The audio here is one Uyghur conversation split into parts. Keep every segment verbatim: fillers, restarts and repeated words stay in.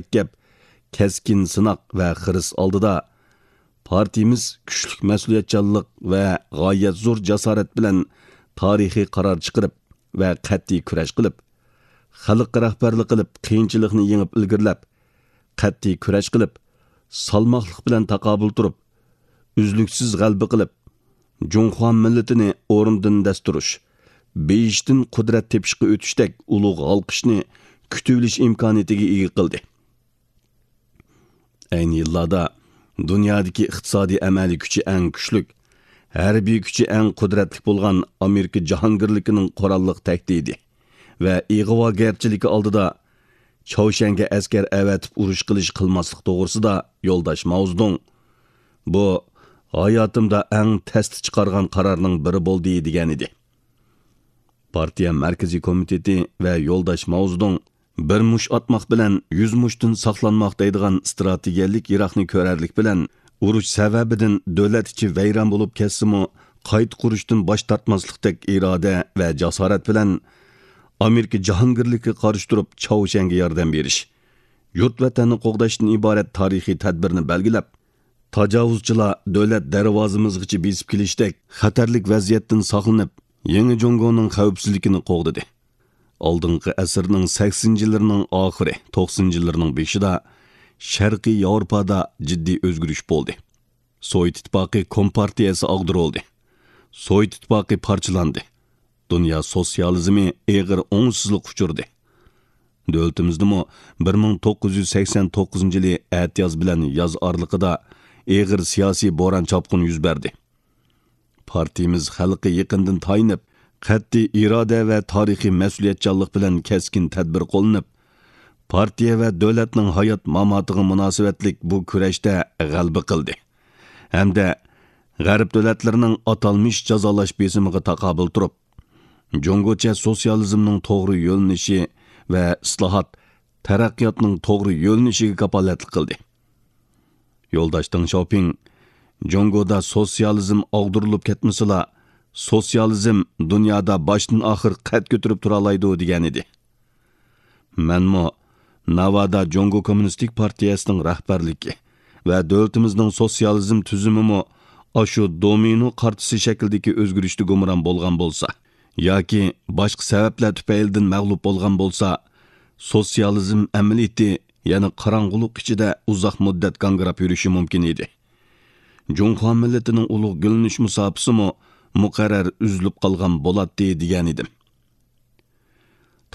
مۇرەككەپ، كەسكىن سىناق ۋە خىرىس ئالدىدا، پارتىيىمىز كۈچلۈك مەسئۇلىيەتچانلىق ۋە غايەت زور جاسارەت بىلەن تارىخىي قارار چىقىرىپ ۋە قەتئىي كۈرەش قىلىپ، خەلققە رەھبەرلىك قىلىپ، قىيىنچىلىقنى يېڭىپ ئىلگىرىلەپ، قەتئىي كۈرەش قىلىپ، سالماقلىق بىلەن تاقابىل تۇرۇپ، ئۈزلۈكسىز غەلىبە قىلىپ، جۇڭخۇا مىللىتىنى ئورنىدىن دەس تۇرۇش، بېيىشتىن قۇدرەت تېپىشقا ئۆتۈشتەك ئۇلۇغ ھالقىشنى كۈتۈۋېلىش ئىمكانىيىتىگە ئىگە قىلدى. ئەينى يىللاردا دۇنيادىكى ئىقتىسادىي ئەمەلىي كۈچى ئەڭ كۈچلۈك، ھەربىي كۈچى ئەڭ قۇدرەتلىك بولغان ئامېرىكا جاھانگىرلىكىنىڭ قوراللىق تەھدىتى ۋە ئىغۋاگەرچىلىكى ئالدىدا چاۋشيەنگە ئەسكەر ئەۋەتىپ ئۇرۇش قىلىش قىلماسلىق توغرىسىدا يولداش ماۋزېدۇڭ، «بۇ ھاياتىمدا ئەڭ تەستە چىقارغان قارارنىڭ بىرى بولدى» دېگەنىدى. پارتىيە مەركىزىي كومىتېتى ۋە يولداش ماۋزېدۇڭ «بىر مۇش ئاتماق بىلەن يۈز مۇشتىن ساقلانماق» دەيدىغان ئىستراتېگىيەلىك يىراقنى كۆرەرلىك بىلەن، ئۇرۇش سەۋەبىدىن دۆلەت ئىچى ۋەيران بولۇپ كەتسىمۇ، قايتا قۇرۇشتىن باش تارتماسلىقتەك ئىرادە ۋە جاسارەت بىلەن ئامېرىكا جاھانگىرلىكىگە قارشى تۇرۇپ چاۋشيەنگە ياردەم بېرىش، يۇرت ۋەتەننى قوغداشتىن ئىبارەت تارىخىي تەدبىرنى بەلگىلەپ، تاجاۋۇزچىلار دۆلەت دەرۋازىمىزغىچە بېسىپ كېلىشتەك خەتەرلىك ۋەزىيەتتىن ساقلىنىپ، يېڭى جۇڭگونىڭ خەۋپسىزلىكىنى قوغدىدى. ئالدىنقى ئەسىرنىڭ سەكسىنىنچى يىللىرىنىڭ ئاخىرى، توقسىنىنچى يىللىرىنىڭ بېشىدا شەرقىي ياۋروپادا جىددىي ئۆزگىرىش بولدى. سوۋېت ئىتتىپاقى كومپارتىيەسى ئاغدۇرۇلدى. سوۋېت ئىتتىپاقى پارچىلاندى. دۇنيا سوتسىيالىزمى ئېغىر ئوڭۇشسىزلىققا ئۇچرىدى. دۆلىتىمىزدىمۇ بىر مىڭ توققۇز يۈز سەكسەن توققۇزىنچى يىلى ئەتىياز بىلەن ياز ئارىلىقىدا ئېغىر سىياسىي بوران چاپقۇن يۈز بەردى. پارتىيىمىز خەلققە يېقىندىن تايىنىپ، قەتئىي ئىرادە ۋە تارىخىي مەسئۇلىيەتچانلىق بىلەن كەسكىن تەدبىر قوللىنىپ، پارتىيە ۋە دۆلەتنىڭ ھايات ماماتىغا مۇناسىۋەتلىك بۇ كۈرەشتە غەلىبە قىلدى ھەمدە غەرب دۆلەتلىرىنىڭ ئاتالمىش جازالاش بېسىمىغا تاقابىل تۇرۇپ، جۇڭگوچە سوتسىيالىزمنىڭ توغرا يۆنىلىشى ۋە ئىسلاھات، تەرەققىياتنىڭ توغرا يۆنىلىشىگە كاپالەتلىك قىلدى. يولداش دېڭ شياۋپىڭ، «جۇڭگودا سوتسىيالىزم ئاغدۇرۇلۇپ كەتمىسىلا، سوتسىيالىزم دۇنيادا باشتىن ئاخىر قەد كۆتۈرۈپ تۇرالايدۇ» دېگەنىدى. مەنمۇ ناۋادا جۇڭگو كوممۇنىستىك پارتىيەسىنىڭ رەھبەرلىكى ۋە دۆلىتىمىزنىڭ سوتسىيالىزم تۈزۈمىمۇ ئاشۇ دومىنو قارتىسى شەكلىدىكى ئۆزگىرىشتە گۇمران بولغان بولسا ياكى باشقا سەۋەبلەر تۈپەيلىدىن مەغلۇپ بولغان بولسا، سوتسىيالىزم ئەمەلىيىتى يەنە قاراڭغۇلۇق ئىچىدە ئۇزاق مۇددەت گاڭگىراپ يۈرۈشى مۇمكىن ئىدى. جۇڭخۇا مىللىتىنىڭ ئۇلۇغ گۈللىنىش مۇساپىسىمۇ مۇقەررەر ئۈزۈلۈپ قالغان بولاتتى، دېگەنىدىم.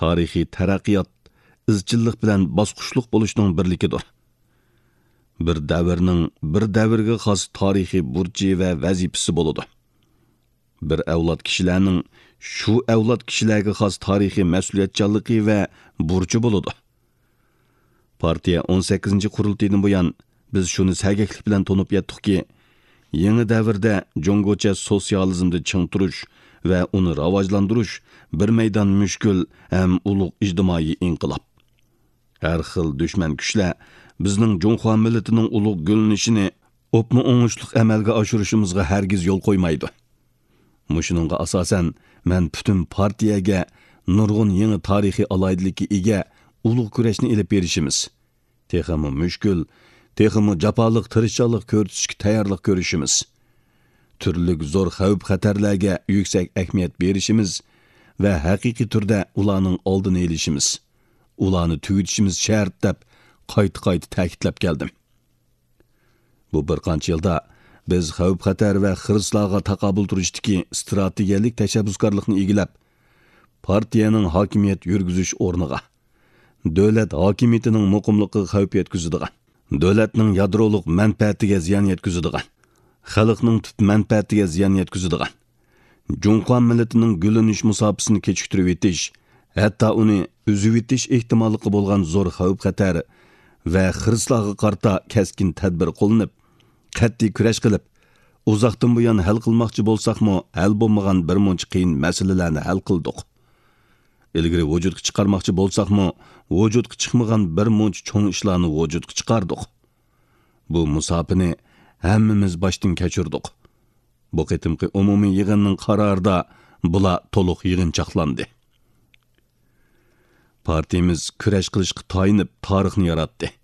تارىخىي تەرەققىيات ئىزچىللىق بىلەن باسقۇچلۇق بولۇشنىڭ بىرلىكىدۇر. بىر دەۋرنىڭ بىر دەۋرگە خاس تارىخىي بۇرچى ۋە ۋەزىپىسى بولىدۇ. بىر ئەۋلاد كىشىلەرنىڭ شۇ ئەۋلاد كىشىلەرگە خاس تارىخىي مەسئۇلىيەتچانلىقى ۋە بۇرچى بولىدۇ. پارتىيە ئون سەككىزىنچى قۇرۇلتىيىدىن بۇيان، بىز شۇنى سەگەكلىك بىلەن تونۇپ يەتتۇقكى، يېڭى دەۋردە جۇڭگوچە سوتسىيالىزمدا چىڭ تۇرۇش ۋە ئۇنى راۋاجلاندۇرۇش بىر مەيدان مۈشكۈل ھەم ئۇلۇغ ئىجتىمائىي ئىنقىلاب. ھەر خىل دۈشمەن كۈچلەر بىزنىڭ جۇڭخۇا مىللىتىنىڭ ئۇلۇغ گۈللىنىشىنى ئوپمۇ ئوڭۇشلۇق ئەمەلگە ئاشۇرۇشىمىزغا ھەرگىز يول قويمايدۇ. مۇشۇنىڭغا ئاساسەن، مەن پۈتۈن پارتىيەگە نۇرغۇن يېڭى تارىخىي ئالاھىدىلىككە ئىگە ئۇلۇغ كۈرەشنى ئېلىپ بېرىشىمىز، تېخىمۇ مۈشكۈل، تېخىمۇ جاپالىق تىرىشچانلىق كۆرسىتىشكە تەييارلىق كۆرۈشىمىز، تۈرلۈك زور خەۋپ-خەتەرلەرگە يۈكسەك ئەھمىيەت بېرىشىمىز ۋە ھەقىقىي تۈردە ئۇلارنىڭ ئالدىنى ئېلىشىمىز، ئۇلارنى تۈگىتىشىمىز شەرت، دەپ قايتا-قايتا تەكىتلەپ كەلدىم. بۇ بىر قانچە يىلدا بىز خەۋپ-خەتەر ۋە خىرىسلارغا تاقابىل تۇرۇشتىكى ئىستراتېگىيەلىك تەشەببۇسكارلىقنى ئىگىلەپ، پارتىيەنىڭ ھاكىمىيەت يۈرگۈزۈش ئورنىغا، دۆلەت ھاكىمىيىتىنىڭ مۇقىملىقىغا خەۋپ يەتكۈزىدىغان، دۆلەتنىڭ يادرولۇق مەنپەئەتىگە زىيان يەتكۈزىدىغان، خەلقنىڭ تۈپ مەنپەئەتىگە زىيان يەتكۈزىدىغان، جۇڭخۇا مىللىتىنىڭ گۈللىنىش مۇساپىسىنى كېچىكتۈرۈۋېتىش، ھەتتا ئۇنى ئۈزۈۋېتىش ئېھتىماللىقى بولغان زور خەۋپ-خەتەر ۋە خىرىسلارغا قارىتا كەسكىن تەدبىر قوللىنىپ، قەتئىي كۈرەش قىلىپ، ئۇزاقتىن بۇيان ھەل قىلماقچى بولساقمۇ، ھەل بولمىغان بىر مۇنچە قىيىن مەسىلىلەرنى ھەل قىلدۇق. ئىلگىرى ۋۇجۇدقا چىقارماقچى بولساقمۇ، ۋۇجۇدقا چىقمىغان بىر مۇنچە چوڭ ئىشلارنى ۋۇجۇدقا چىقاردۇق. بۇ مۇساپىنى ھەممىمىز باشتىن كەچۈردۇق. بۇ قېتىمقى ئومۇمىي يىغىننىڭ قارارىدا بۇلار تولۇق يىغىنچاقلاندى. پارتىيىمىز كۈرەش قىلىشقا تايىنىپ تارىخنى ياراتتى.